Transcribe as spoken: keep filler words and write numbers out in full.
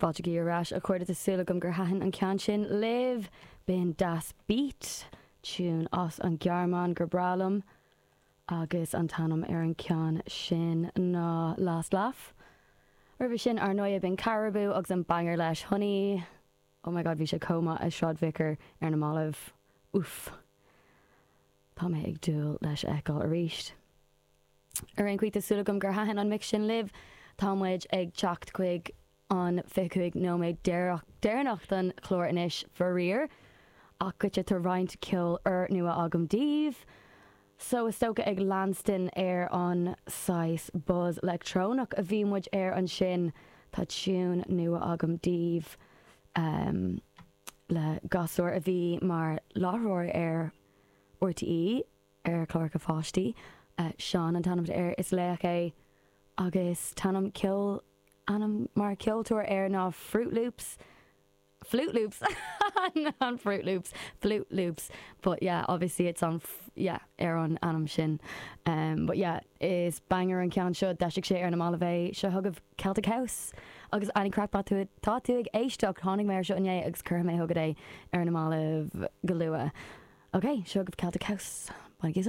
Fáilte ar ais a chairde tá súil agam gur thaitin an ceann sin libh b'in Das Beat tune as an Ghearmáin gur breá liom agus an t-ainm ar an ceann sin ná Last Laugh. Roimhe sin ar ndóigh b'in Caribou agus an banger leis Honey. Oh my god bhí sé chomh maith i Sráid Vicar ar na mallaibh. Uff. Tá mé ag dúil leis a fheiceáil arís. Ar aon chaoi tá súil agam gur thaitin an mix sin libh, Tá muid ag teacht chuig an fiche cúig nóiméad deireanach den chlár anois faraor, ach goitse tá roinnt ceol úrnua agam daoibh. So is dócha ag leanstan ar an saghas buzz leictreonach a bhí muid air ansin tá tune nua agam daoibh um, le gasúr a bhí mar láithreoir ar RTÉ ar chláracha pháistí uh, Seán an t-ainm air is laoch é agus t-ainm ceol ainm mar ceoltóir air ná Fruit Loops. Flute Loops on Fruit Loops Flute Loops but yeah obviously it's on yeah ar an ainm sin um, but yeah is banger an ceann seo d'eisigh sé ar na mallaibh é seo chugaibh Celtic House agus any craic tú tá tú ag éisteacht tháinig mé seo inné agus chuir mé chugat é ar na mallaibh go luath. Ok, seo chugaibh Celtic House. Bain